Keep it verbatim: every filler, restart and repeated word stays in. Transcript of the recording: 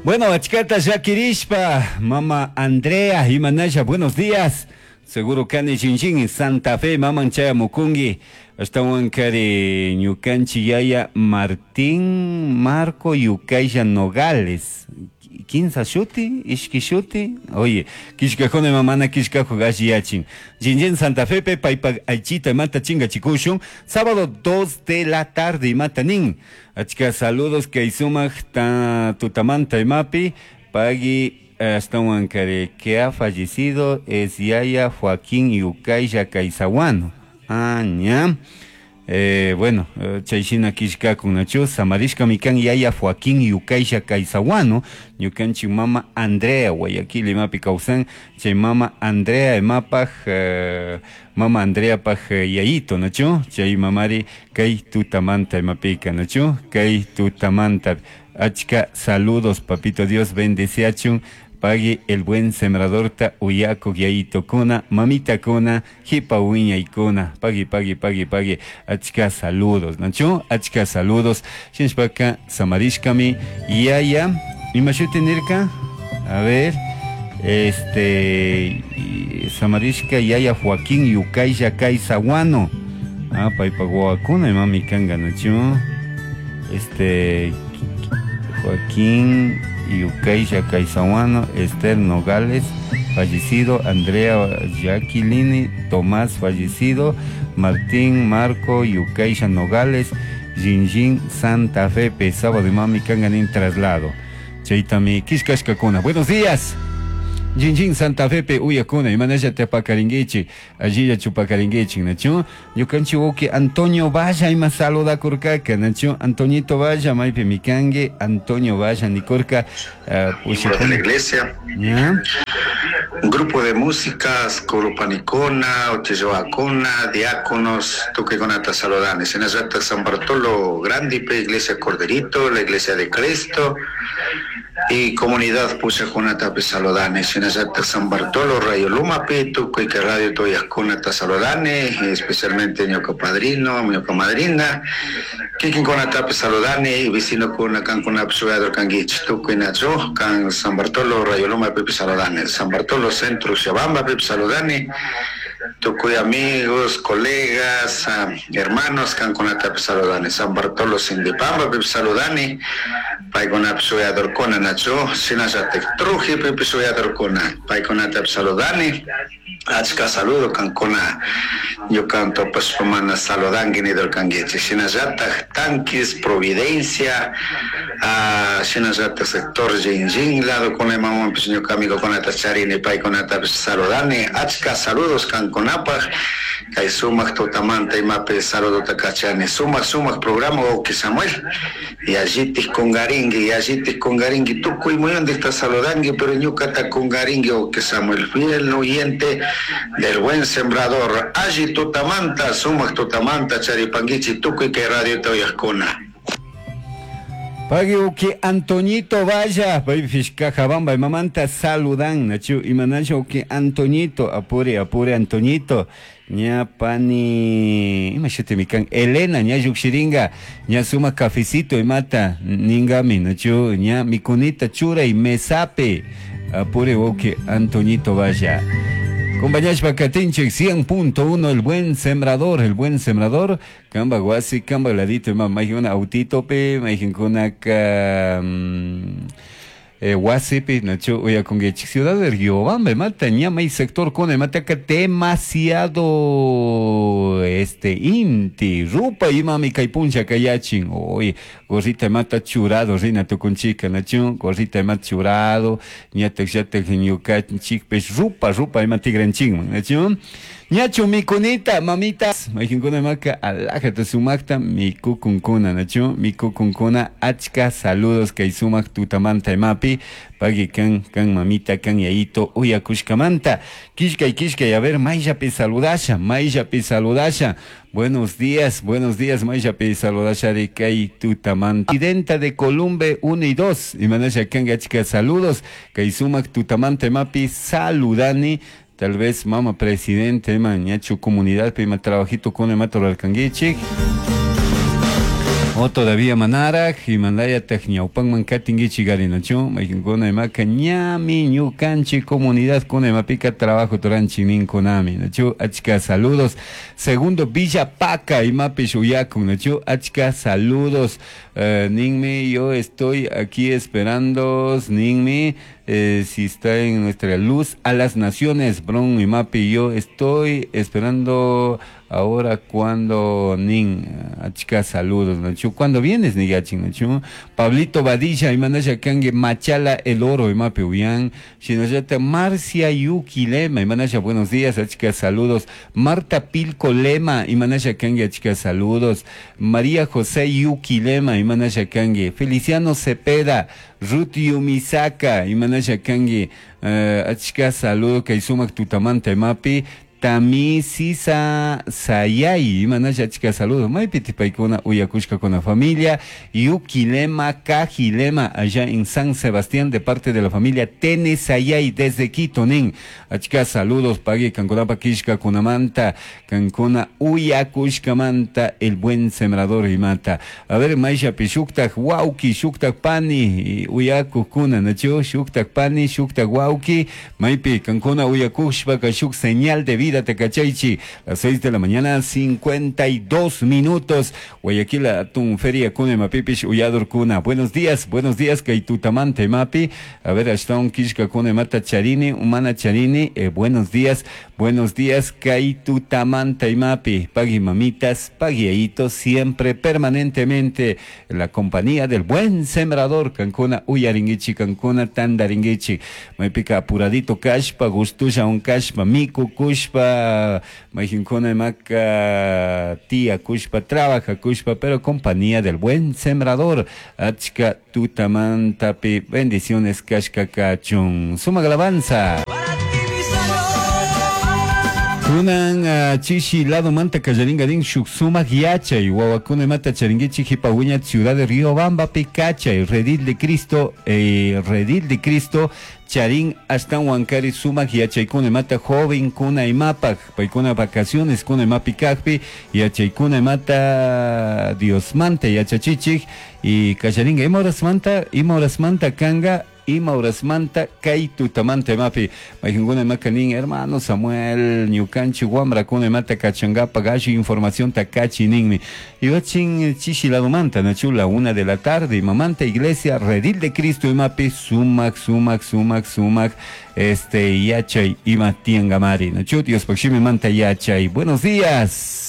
Bueno, achkata llakirishpa, mama Andrea, imanalla, buenos días. Seguro kani Jinjin, Santa Fe, maman chayamukunki. Ashtawan kari ñukanchi yaya Martín Marco Yucaya Nogales. Kinsa shuti, ishki shuti. Oye, kishkajuna mamana kishkajo gashi yachin. Jinjin Santa Fe pe paypa aychita mata chinga chikushun. Sábado dos de la tarde mata nin. Achka saludos kay sumaq ta tutamanta imapi. Pagui ashtawan kari que ha fallecido es yaya Joaquín Yucaya Caizahuano. Ah, ña. Eh, bueno, chayshina kishkakun nachu samarishka mikan yaya Joaquín Yucaisha Caizahuano, ñukanchik mama Andrea Guayaquil imapi kawsan, chay mama Andrea imapaj, eh, mama Andrea paj yayito nachu, chay mamari kay tutamanta imapika nachu, kay tutamanta. Achka saludos, papito Dios bendeciachun. Pagui el buen sembrador ta uyako yayito kuna, mamita kuna, hipa uña y kuna. Pagui, pagui, pagui, pagui. Achka saludos, ¿nacho? Achka saludos. Shinshpaka, samarishkami, yaya. Imashuti nirka? A ver, este, samarishka yaya Joaquín Yucaya Caizahuano. Ah, paypa guakuna, mami kanga, ¿nacho? Este, Joaquín Yucaya Caizahuano, Esther Nogales, fallecido, Andrea Jacqueline Tomás, fallecido, Martín Marco Yucaya Nogales, Jinjin Santa Fe, pe, sábado y mami kanganin traslado. Chaitami kishkashkakuna. Buenos días. Jinjin Santa Fe pe uyakuna, imanalla tepakaringuichi, allilla chupakaringuichi, nachu, ñukanchi uki Antonio Valla ima saluda kurkaka, nachu, Antoñito Valla, maypi mikangue, Antonio Valla nikurka, uh, de la iglesia. ¿Ya? Un grupo de músicas, Coropanicona, Ocheyoacona, diáconos, Tuqueconata Saludanes, en la San Bartolo Grandipe, Iglesia Corderito, la Iglesia de Cristo, y comunidad Puchaconata Pesalodanes, en San Bartolo, Rayo Lumape, Tucuica Radio Toyasconata Salodane, especialmente ñoca padrino, ñoca madrina, Kikinconata Pesalodane, y vecino con Cancuna Psuador Canguich, Tucuinacho, Can San Bartolo, Rayo Lumape Pesalodane, San Bartolo Centro Xabamba Pesalodane, Tucuy amigos, colegas, hermanos, Canconata Pesalodane, San Bartolo Sindipamba Pesalodane, Paicona Psuador Cona Nacho, Sinazatek Truji Pesuador Cona, Paiconata Pesalodane, Achka saludo Cancona, yo canto Paspamana Saludanguini del Cangueche, Sinazatak Tanquis, Providencia, Sinazatak Sector Jinjin, lado con el mamón, pues yo amigo con la Tacharine, Paiconata Saludane, Achka saludos Canconapa, Kay sumaq tutamanta imapi saludo takachani, sumaq sumaq programa Oki Samuel, y allitis kungaringi, y allitis kungaringi, tukuy muyundikta saludangi, pero ñukata kungaringi Oki Samuel, fiel oyente del buen sembrador, alli tutamanta, sumaq tutamanta, charipanguichi, tukuy kay radio toyaskuna. Pagui uki Antoñito Valla, Fishcajabamba, mamanta saludan, nachu, imanacho uki Antoñito, apure, apure Antoñito, ña pani, imashute mikan, Elena, ña yukshiringa, ña suma cafecito y mata, ningami, nachu, ña mikunita chura y mesape, apure uki Antoñito Valla. Compañeros Katinchik cien punto uno, el buen sembrador, el buen sembrador, Kamba guasi, kamba ladito, ma majuna autito pe, majuna ka eh, guasi pe, nacho, oya con que ciudad de Riobamba, mata ñama y sector con mata que demasiado este inti, rupa y mami kaipuncha kayachin, oye, gorrita mata churado, rina tukunchika, nacho, gorrita mata churado, ñata yata ñuka chik pes rupa, rupa y matigranching, nacho. Ñacho mikunita, mamita, majinkuna maka, alajata sumakta, mikukunkuna, nacho, mikukunkuna, achka, saludos, kay sumak tutamanta imapi, pagui kan, kan mamita, kan yaito, uyakushkamanta, kishkay, kishkay, a ver, mayllapi saludasha, mayllapi saludasha, buenos días, buenos días, mayllapi saludasha de kay tutamanta. Presidenta de Columbe uno y dos, y manasha kan achka, saludos, kay sumak tutamanta imapi, saludani. Tal vez mama presidente, ma ñachu comunidad, pe ma trabajito con el mato al canguichi. O todavía manaraj imanayataq ñawpanman katinkichik nachu mayqinkuna imaka ñami ñukanchik comunidad kuna imapika trabajo turanchik ninkunami nachu achka saludos. Segundo Villa Paca imapish uyakun nachu achka saludos. Uh, ninmi yo estoy aquí esperando ninmi eh, si está en nuestra luz a las naciones bron imapi yo estoy esperando ahora cuando nin achka saludos nachu cuando vienes nigachin nachu Pablito Badilla imanasha kangue Machala el Oro imapi uyan shinallata Marcia Yuki Lema imanasha buenos días achka saludos. Marta Pilco Lema imanasha kangue achka saludos. María José Yuki Lema imanasha kangue Feliciano Cepeda Ruth Yumisaka imanasha kangue uh, achka saludos kay sumak tutamanta imapi Tami Sisa Sayay, imanasha achka saludos. Maypi tipaykuna uyakushka con la familia Yuquilema Cajilema allá en San Sebastián de parte de la familia Tene Sayay desde Quito nin. Achka saludos pagui kankunapa kishka kunamanta kankuna uyakushkamanta el buen sembrador imata. A ver mayshapi shuktak wauki shuktak pani uyakukuna nachu shuktak pani shuktak wauki maypi kankuna uyakushpaka shuk señal de vida Tecachaichi, las seis de la mañana, cincuenta y dos minutos. Guayaquil, atún feria kuna mapipish uyadur kuna. Buenos días, buenos días, kaitutamante mapi. A ver, hasta un kishka kuna mata charini, humana charini. Eh, buenos días, buenos días, kaitutamante mapi. Pagui mamitas, pagui siempre, permanentemente, en la compañía del buen sembrador, Cancuna, uyaringuichi, Cancuna, tandaringuichi. Mapica apuradito kashpa, gustusha un kashpa, miku kushpa. Majinkuna maka tía kushpa trabaja kushpa pero compañía del buen sembrador achka tutamantapi bendiciones kashka kachun suma alabanza. Kunan uh, chishi lado manta kallaringa din shuk sumak yachay wawakuna mata charinguichi jipawiña ciudad de Riobamba picachay redil de Cristo eh, redil de Cristo charin hasta huancari sumak yachaykuna mata joven kuna imapak paykuna vacaciones kuna imapi kajpi yachaykuna mata Dios manta yachachichik y kallaringa ima horas manta ima horas manta kanga ima horasmanta kay tutamanta imapi mayqinkuna imaka nin hermano Samuel ñukanchik wamrakuna imata kachankapak ashu información takachi ninmi iwachin chishi ladomanta nachu la una de la tarde imamanta iglesia Redil de Cristo imapi sumak sumak sumak sumak este yachay ima tiangamari nachu Dios manta yachay. Buenos días.